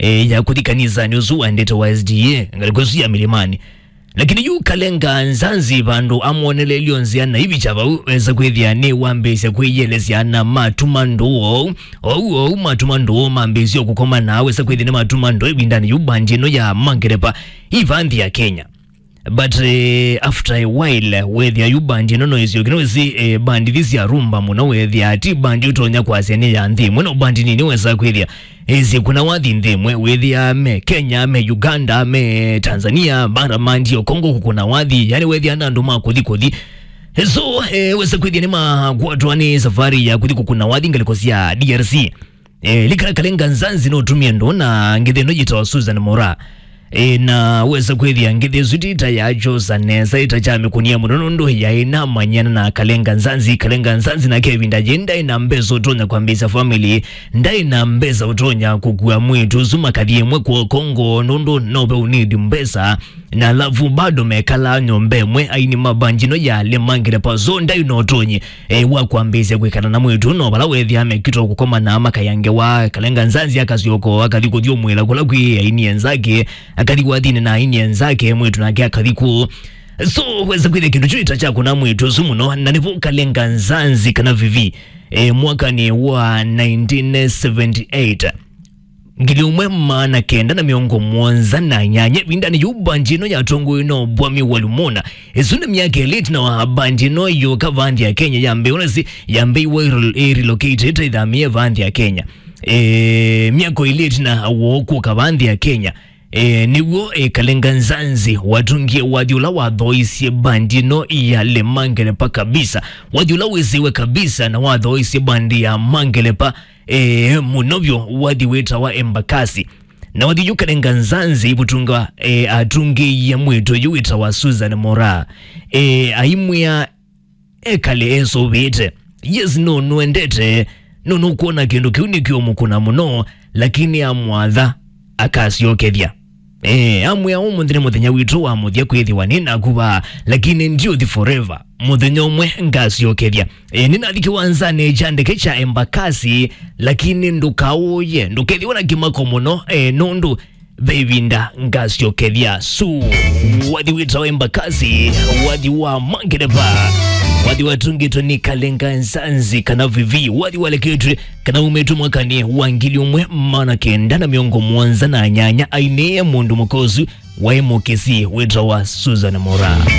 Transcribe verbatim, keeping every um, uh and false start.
e, ya kũthi kanisanĩ ũsu waendete wa S D A, ngalĩko ĩsu ya Milimani. Lakini yu Kalenga Nzanzi vandũ amwonelelyo nzĩa na ivicha vau, wesa kwĩthĩa nĩwambĩĩsya kwĩyĩelesya na matuma ndũũ ou, ou, ou matuma ndũũ mambĩĩsya kũkoma na wesa kwĩthĩa nĩ matuma ndũũ ĩvindanĩ yu bandi ĩno ya Mangerepa ĩvanthi ya Kenya. But eh, after a while wethĩa yu bandi ĩno no ĩsyoke, no ĩsi eh, bandi ithi sya rumba mũno, wethĩa ti bandi ũtonya kwasya nĩ ya nthĩ ĩmwe, no bandi nini wesa kwĩthĩa ĩsĩ kuna wathi nthĩ ĩmwe, wĩthĩa me Kenya, me Uganda, me Tanzania, bara mandi o Congo kũkũna wathi, yani wethĩa na andũ ma kũthi kũthi. So eh, wesa kwĩthĩa nĩ makwatwa nĩ safari ya kũthi kũkũna wathi ngalĩko sya D R C. E, likana Kalenga Nzanzi no tumie ndo na ngithi ĩno yĩtawa Susan Mora. E, na wesa kwĩthĩa ngithi ĩsu ti ta yachosa nesa, ĩta kyamĩkũnia mũno nũndũ yaĩ namanyana na Kalenga Nzanzi. Kalenga Nzanzi nake ĩvinda yĩ ndaĩ na mbesa ũtonya kwambĩĩsya family, ndaĩ na mbesa ũtonya kũkua mwĩĩtu ũsu makathi ĩmwe kwa Congo nũndũ no ve ũnidi mbesa. Na alafu bado mekalaa nyũmba ĩmwe, aini ma bandi ĩno ya Lemangele Pazo ndaĩ na ũtonyi e, wa kwambĩĩsya kwĩkala na mwĩĩtu no vala wethĩa mekitwa kũkoma na makaya ngewa. Kalenga Nzanzi akasyoka akathi kũthyũmũĩla kũla kwĩ aini enzake, akathi wathini na aini enzake, mwĩĩtu nake akathi kũu. So wesa kwĩthĩa kĩndũ kyu ĩta kyakũna mwĩĩtu ũsu mũno, na nĩvo Kalenga Nzanzi kana Vivi e, mwakanĩ wa nineteen seventy-eight, ngili ũmwe maana kenda na mĩongo mũonza na nyanya, ĩvindanĩ yĩu bandi ĩno yatongoiwe no Bwami wa Lumona. Ĩsu nĩ myaka ĩlĩ ĩtina wa bandi ĩno yũka vanthi ya Kenya yambĩĩwa, nasi yambĩĩwa ĩrel-, ĩrelocate, ĩtaithamĩe vanthi ya Kenya. E, myaka ĩlĩ ĩtina woo kũka vanthi ya Kenya, e, nĩw'o e, Kalenga Nzanzi watungie wathi ũla wathoisye bandi ĩno ya Le Mangelepa kabisa, wathi ũla wĩsĩwe kabisa na wathoisye bandi ya Mangelepa e, mũno vyũ wathi wĩtawa Embakasi. Na wathi yu Kalenga Nzanzi ivutunga e, atungĩie mwĩĩtu yu wĩtawa Susan Mora. E, aimwĩa ekale esũvĩte. Yes, no nũendete, no nũkwona kĩndũ kĩu nĩkĩũmũkũna mũno, lakini amwatha akasyokethya. E, amwĩa ũmũnthĩ nĩ mũthenya witũ wa mũthya kwĩthĩwa nĩ naku vaa, lakini ndiũthi forever. Mũthenya ũmwe ngasyokethya. E, nĩnathi kĩwanzanĩ kya ndeke kya Embakasi, lakini ndũkaũye, ndũkethĩwe na kĩmako mũno e, nũndũ ve ĩvinda ngasyokethya. Su, wathi wĩtawa Embakasi, wathi wa Mangelepa, wathi watungĩtwe nĩ Kalenga Nzanzi kana Vivi, wathi waleketwe kana umĩtwe mwakanĩ wa ngili ũmwe maana kenda na mĩongo mũonza na nyanya, ainĩe mũndũ mũka ũsu waĩ mũkĩsi wĩtawa Susan Mora.